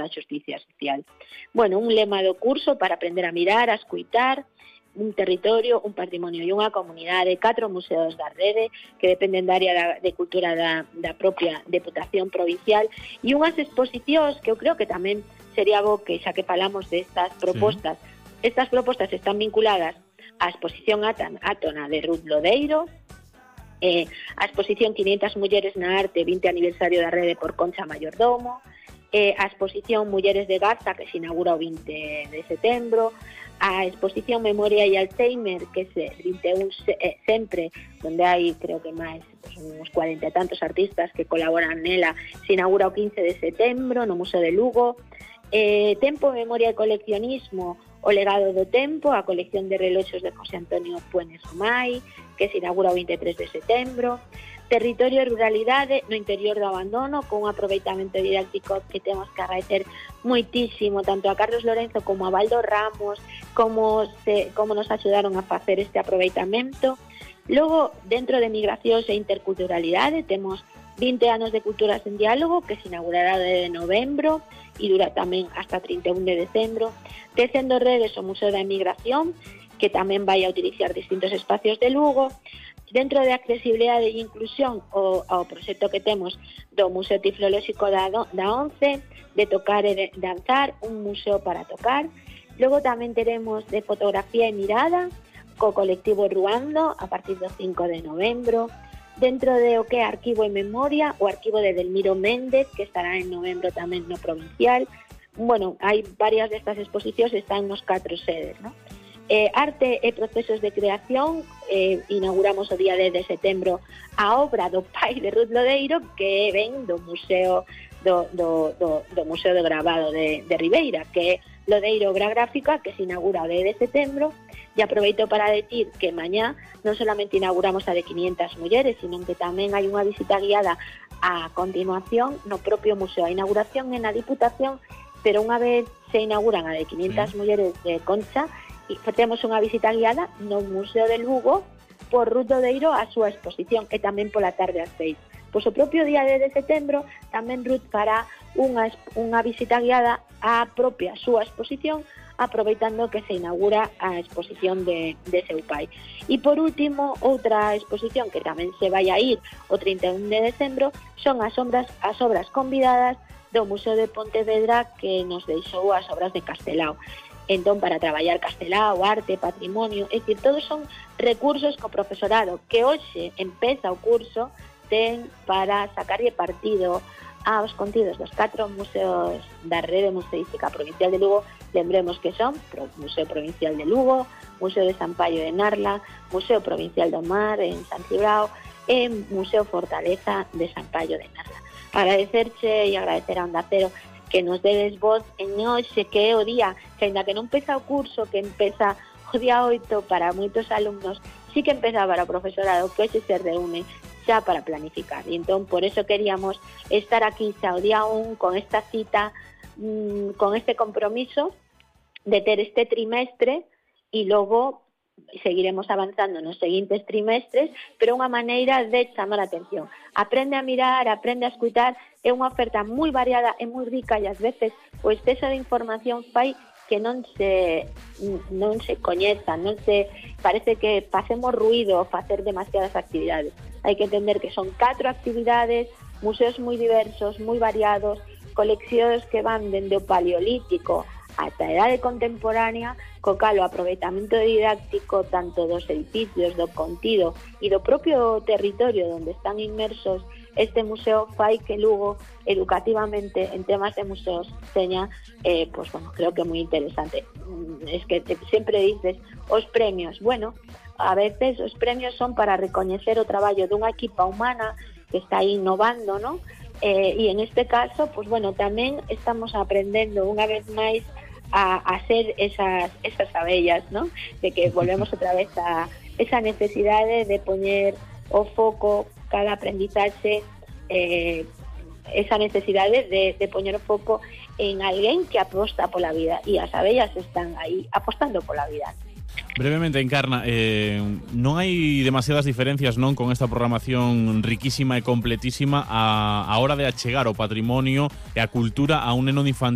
da xusticia social. Bueno, un lema do curso para aprender a mirar, a escuitar, un territorio, un patrimonio e unha comunidade, 4 museos da rede que dependen da área de cultura da propia Deputación Provincial e unhas exposicións que eu creo que tamén sería bo que xa que falamos destas propostas. Sí. Estas propostas están vinculadas á exposición Átona de Ruth Lodeiro, a exposición 500 mulleres na arte, 20 aniversario da rede por Concha Mayordomo, a exposición Mulleres de Garza que se inaugura o 20 de setembro, a exposición Memoria e Alzheimer que é 21 sempre, onde hai creo que máis uns 40 e tantos artistas que colaboran nela, se inaugura o 15 de setembro no Museo de Lugo. Tempo, Memoria e Coleccionismo, o legado do tempo, a colección de reloxos de José Antonio Puenes Omai, que se inaugura o 23 de setembro. Territorio e ruralidade no interior do abandono, con un aproveitamento didáctico que temos que agradecer moitísimo tanto a Carlos Lorenzo como a Baldo Ramos, como nos axudaron a facer este aproveitamento. Logo, dentro de migracións e interculturalidade, temos 20 anos de Culturas en Diálogo, que se inaugurará de novembro e dura tamén hasta 31 de decembro. Tecendo redes o Museo da Emigración, que tamén vai a utilizar distintos espacios de Lugo. Dentro de accesibilidade e inclusión, o proxecto que temos do Museo Tiflolóxico da ONCE, de tocar e de danzar, un museo para tocar. Logo tamén teremos de fotografía e mirada, co colectivo Ruando, a partir do 5 de novembro. Dentro de o que é arquivo e memoria, o arquivo de Delmiro Méndez, que estará en novembro tamén no provincial. Bueno, hai varias destas exposicións, están nos 4 sedes, ¿no? Arte e procesos de creación, inauguramos o día 10 de setembro a obra do pai de Ruth Lodeiro, que ven do Museo do Museo de Gravado de Ribeira, que é Lodeiro Obra Gráfica, que se inaugura o 10 de setembro. E aproveito para decir que mañá non solamente inauguramos a de 500 mulleres, sino que tamén hai unha visita guiada a continuación no propio museo. A inauguración é na Diputación, pero unha vez se inauguran a de 500 mulleres de Concha, e temos unha visita guiada no Museo de Lugo por Ruth Lodeiro a súa exposición, e tamén pola tarde ás 6. Pois o propio día de setembro tamén Ruth fará unha visita guiada á propia súa exposición, aproveitando que se inaugura a exposición de seu pai. E por último, outra exposición que tamén se vai a ir o 31 de decembro son as obras convidadas do Museo de Pontevedra, que nos deixou as obras de Castelao. Entón, para traballar Castelao, arte, patrimonio, é dicir, todos son recursos que o profesorado que hoxe empeza o curso ten para sacarlle partido aos contidos dos 4 museos da rede museística provincial de Lugo. Lembremos que son Museo Provincial de Lugo, Museo de San Paio de Narla, Museo Provincial do Mar en San Cibrao e Museo Fortaleza de San Paio de Narla. Agradecerche e agradecer a Onda Cero que nos dedes voz en hoxe, que é o día, que ainda que non empeza o curso, que empeza o día 8 para moitos alumnos, sí que empeza para o profesorado, que hoxe se reúne xa para planificar. E entón, por eso queríamos estar aquí xa o día 1 con esta cita, con este compromiso de ter este trimestre, e logo seguiremos avanzando nos seguintes trimestres, pero unha maneira de chamar a atención. Aprende a mirar, aprende a escutar, é unha oferta moi variada e moi rica, e ás veces o exceso de información fai que non se coñeza, parece que facemos ruido ao facer demasiadas actividades. Hai que entender que son 4 actividades, museos moi diversos, moi variados, coleccións que van dende o paleolítico ata a idade contemporánea, co cal o aproveitamento didáctico tanto dos edificios, do contido e do propio territorio onde están inmersos este museo fai que Lugo educativamente en temas de museos teña, pues bueno, creo que moi interesante. Es que sempre dices os premios, bueno, a veces os premios son para recoñecer o traballo dunha equipa humana que está innovando, ¿no? E en este caso, pues bueno, tamén estamos aprendendo unha vez máis a ser esas abellas, ¿no? De que volvemos outra vez a esa necesidade de poñer o foco cada aprendizaxe, esa necesidade de poñer o foco en alguén que aposta pola vida, e as abellas están aí apostando pola vida. Brevemente, Encarna, non hai demasiadas diferencias, non, con esta programación riquísima e completísima a hora de achegar o patrimonio e a cultura a un neno infantil